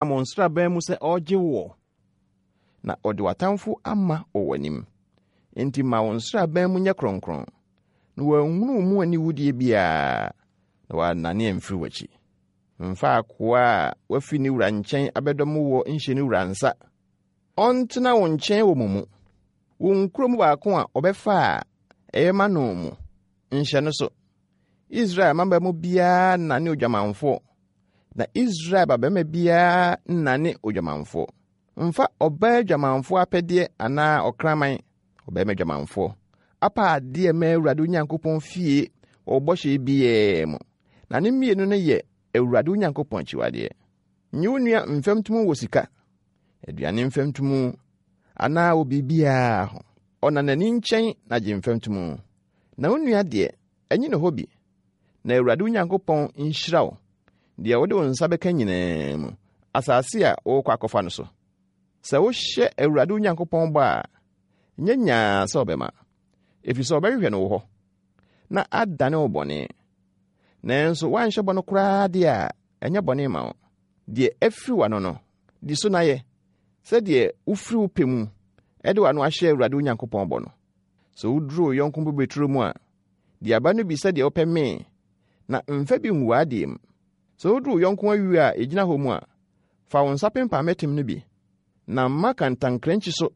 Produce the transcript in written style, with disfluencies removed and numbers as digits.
Mo nsraban mu sɛ ɔregye woɔ, na ɔde w'atamfo ama wɔ w'anim. Enti ma wo nsraban mu nyɛ kronkron, na wɔanhunu wo mu aniwudeɛ biara, na wɔannane amfiri w'akyi. Mfa akoa a wafi ne wura nkyɛn abɛdɔm woɔ nhyɛ ne wura nsa. Ɔntena wo nkyɛn wɔ mo mu. Wo nkuro mu baako a ɔbɛfa a ɛyɛ ma no mu, nhyɛ no so. Israel mmabaa mu biara nnane odwamanfoɔ, na Israel babarima biara nnane odwamanfoɔ. Mfa ɔbaa dwamanfoɔ apɛdeɛ anaa ɔkraman, ɔbarima dwamanfoɔ, apaadeɛ mma Awurade wo Nyankopɔn fie wɔ wo bɔhyɛ biara mu, na ne mmienu no yɛ Awurade wo Nyankopɔn akyiwadeɛ. Nye wo nua mfɛmtomu wɔ sika, aduane mfɛmtomu, anaa wɔ biribiara ho. Ɔnanani nkyɛn na gye mfɛmtomu, na wo nua deɛ, ɛnye ne hɔ bi. Na Awurade wo Nyankopɔn nhyira wo, deɛ wode wo nsa bɛka nyinaa mu, asase a worekɔ akɔfa no so. Sɛ wohyɛ Awurade wo Nyankopɔn bɔ a, nyɛ nyaa sɛ ɔbɛma, ɛfiri sɛ ɔbɛhwehwɛ no wo hɔ, na adane wo bɔne. Nanso woanhyɛ bɔ no koraa deɛ a, ɛnyɛ bɔne ma wo. Deɛ afiri w'ano no, di so na yɛ, sɛdeɛ wofiri wo pɛ mu de w'ano ahyɛ Awurade wo Nyankopɔn bɔ no. Sɛ woduru wo yɔnko bobeturo mu a, di aba no bi sɛdeɛ wopɛ mee, na mfa bi ngu w'adeɛ mu. Sɛ woduru wo yɔnko ayuo a ɛgyina hɔ mu a, fa wo nsa pempan mmɛtem no bi, na mma kantankrankyi so.